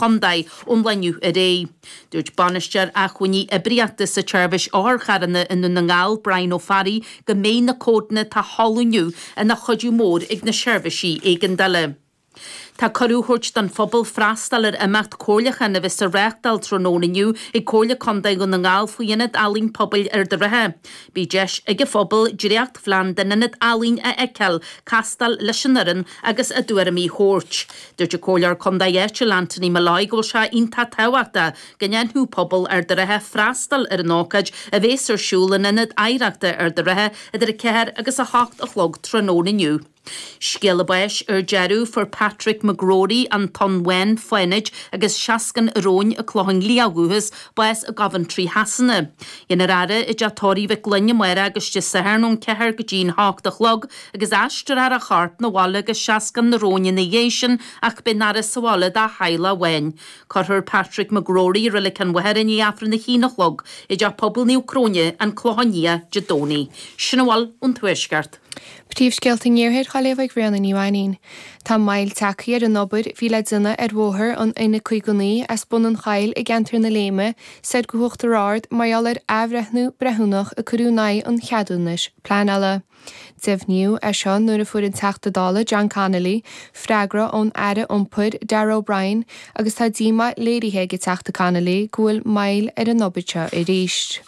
chontae ón lá inniu ar aghaidh. Dúirt Bainisteoir Acmhainní Oibríochta sa tSeirbhís Otharcharranna i nDún na nGall, Brian Ó Fearraigh, go mbeidh na códanna atá seolta inniu ina chuidiú mór ag na seirbhísí éigeandála. Tá cuireadh á thabhairt don phobal freastal ar imeacht comhairliúcháin a bheas á reáchtáil tráthnóna inniu ag Comhairle Contae Dhún na nGall faoi Ionad Ealaíon Pobail Ard a' Rátha. Beidh deis ag an phobal dréachtphlean den ionad ealaíon a fheiceáil, castáil leis an fhoireann agus a dtuairimí a thabhairt. Dúirt an Comhairleoir Contae áitiúil Anthony Molloy go bhfuil sé iontach tábhachtach go ndéanfadh pobal Ard a' Rátha freastal ar an ócáid a bheas ar siúl in Ionad Oidhreachta Ard a' Rátha idir 4 agus 8 a chlog tráthnóna inniu. Scéala báis ar deireadh, fuair Patrick McGrory, An Tonn Bhán, Fánaid, agus Seascann an Róin, An Clochán Liath ó dhúchas, bás i gCoventry Shasana. Déanfar a fhaire i dteach tórraimh Mhic Gloinn amárach agus Dé Sathairn ón 4 go dtí an 8 a chlog agus aistreofar a chorp 'na bhaile go Seascann na Róin ina dhiaidh sin ach beidh an fhaire sa bhaile dá theaghlach amháin. Cuirfear Patrick McGrory i Reilig an Mhachaire i ndiaidh Aifreann a haon a chlog i dTeach Pobail Naomh Cróine, An Clochán Liath, Dé Domhnaigh. Sin a bhfuil ón Tuaisceart. Príomhscéalta an Iarthair á léamh ag Ríona Ní Mhainín. Tá moill tagtha ar an obair a bhí le déanamh ar bhóthar an N59 as Bun an Choill i gceantar na Léime soir go hUachtar Ard mar gheall ar athbhreithniú breithiúnach a cuireadh in aghaidh an cheadúnais pleanála. Deimhníodh é seo nuair a fuair an Teachta Dála John Connolly freagra ón Aire Iompair Darragh O'Brien agus tá díomá léirithe ag an Teachta Connolly go bhfuil moill ar an obair seo arís.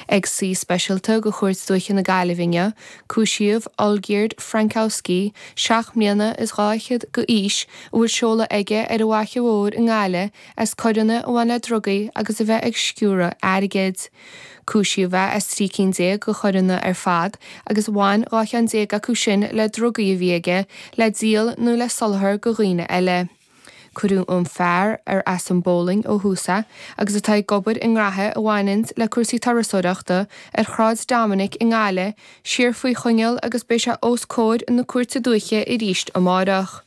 Ag suí speisialta de Chúirt Dúiche na Gaillimhe inniu, cúisíodh Olgierd Frankowski, 7 mbliana is 2 fhichead d'aois, a bhfuil seoladh aige ar an bhFaiche Mhór i nGaillimh, as coireanna a bhain le drugaí agus a bheith ag sciúradh airgid. Cúisíodh é as 13 cinn de choireanna ar fad agus bhain 12 cheann acu sin le drugaí a bhí aige le díol nó le soláthar do dhaoine eile. Cuireadh an fear, ar as an bPólainn ó thús é agus atá ag obair i ngraithe a bhaineanns le cúrsaí turasóireachta ar Shráid Dominic i nGaillimh, siar faoi choinneáil agus beidh sé os comhair na Cúirte Dúiche arís amárach.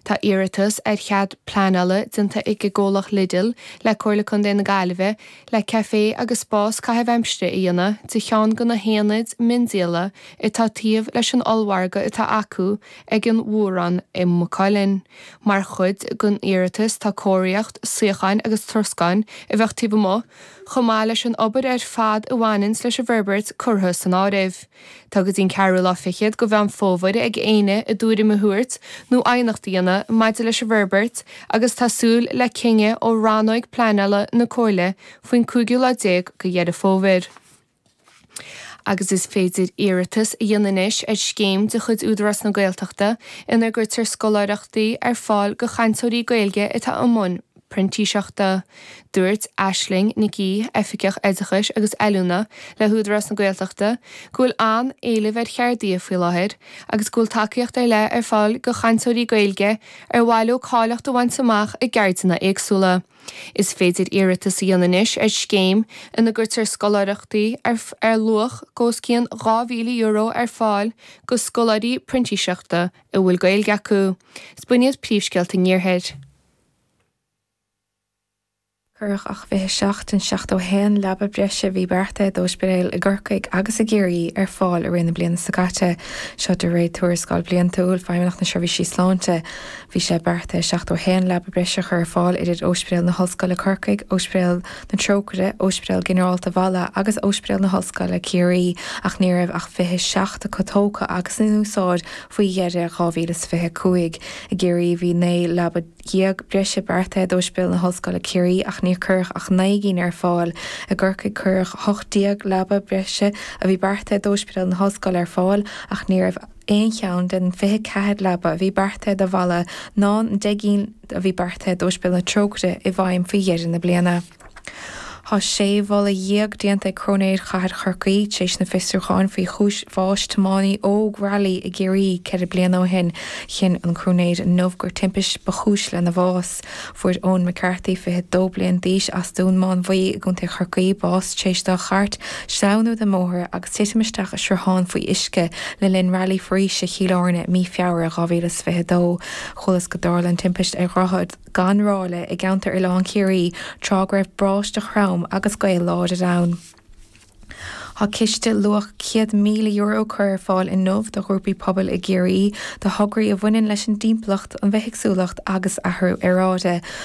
Tá iarratas ar chead pleanála déanta ag an gcomhlacht Lidl le Comhairle Contae na Gaillimhe le caifé agus spás caitheamh aimsire a dhéanamh de cheann de na haonaid miondíola atá taobh leis an ollmhargadh atá acu ag an Mhórán i Maigh Cuilinn. Mar chuid den iarratas tá cóiríocht, suíocháin agus troscán a bheadh taobh amuigh, chomh maith leis an obair ar fad a bhaineanns leis an bhforbairt curtha san áireamh. Tá go dtí an ceathrú lá fichead de Mheán Fómhair ag éinne a dtuairim a thabhairt nó aighneacht a dhéanamh maidir leis an bhforbairt agus tá súil le cinneadh ó rannóig pleanála na Comhairle faoin cúigiú lá déag de Dheireadh Fómhair. Agus is féidir iarratas a dhéanamh anois ar scéim de chuid Údarás na Gaeltachta ina gcuirtear scoláireachtaí ar fáil do chainteoirí Gaeilge atá i mbun printíseachta. Dúirt Aisling Nic Aoidh, Oifigeach Oideachais agus Oiliúna le hÚdarás na Gaeltachta, go bhfuil an-éileamh ar cheardaithe faoi láthair agus go bhfuil tacaíocht ar leith ar fáil do chainteoirí Gaeilge ar mhaith leo cáilíocht a bhaint amach i gceirdeanna éagsúla. Is féidir iarratas a dhéanamh anois ar scéim ina gcuirtear scoláireachtaí ar ar luach os cionn €2,000 ar fáil do scoláirí printíseachta a bhfuil Gaeilge acu. Is b'in iad príomhscéalta an Iarthair. Cuireadh ach 27 den 71 leaba breise a bhí beartaithe d'ospidéil i gCorcaigh agus i gCiarraí ar fáil i rith na bliana seo caite. Seo de réir tuarascáil bhliantúil Feidhmeannacht na Seirbhísí Sláinte. Bhí sé beartaithe 71 leaba breise a chur ar fáil idir Ospidéal na hOllscoile Corcaigh, Ospidéal na Trócaire, Ospidéal Ginearálta Mhala agus Ospidéal na hOllscoile Ciarraí ach ní raibh ach 27 acu tógtha agus in úsáid faoi dheireadh 2025. I gCiarraí bhí 19 leaba breise beartaithe d'Ospidéal na hOllscoile Ciarraí ach níor cuireadh ach 9 gcinn ar fáil. I gCorcaigh cuireadh 18 leaba breise a bhí beartaithe d'Ospidéal na hOllscoile ar fáil ach ní raibh aon cheann den 24 leaba a bhí beartaithe do Mhala ná an 10 gcinn a bhí beartaithe d'Ospidéal na Trócaire i bhfeidhm faoi dheireadh na bliana. Tá sé mholadh déanta ag Cróinéir Chathair Chorcaí tar éis na fiosrúcháin faoi chúis bháis tiománaí óg railí i gCiarraí 4 bliana ó shin. Chinn an Cróinéir inniu gur timpist ba chúis lena bhás. Fuair Eoin McCarthy, 22 bliain d'aois, as Dún Mánmhaí i gContae Chorcaí, bás tar éis dá chairt sleamhnú den mbóthar agus titim isteach i sruthán faoi uisce le linn Railí Foraoise Chill Airne mí Feabhra 2022. Chualathas go dtarla an timpist ar dhroichead gan ráille i gceantar Oileán Ciarraí tráth go raibh báisteach throm agus gaoth láidir ann. Tá ciste luach €100,000 curtha ar fáil inniu do ghrúpaí pobail i gCiarraí do thograí a bhaineann leis an dtimpeallacht, an bhithéagsúlacht agus athrú aeráide.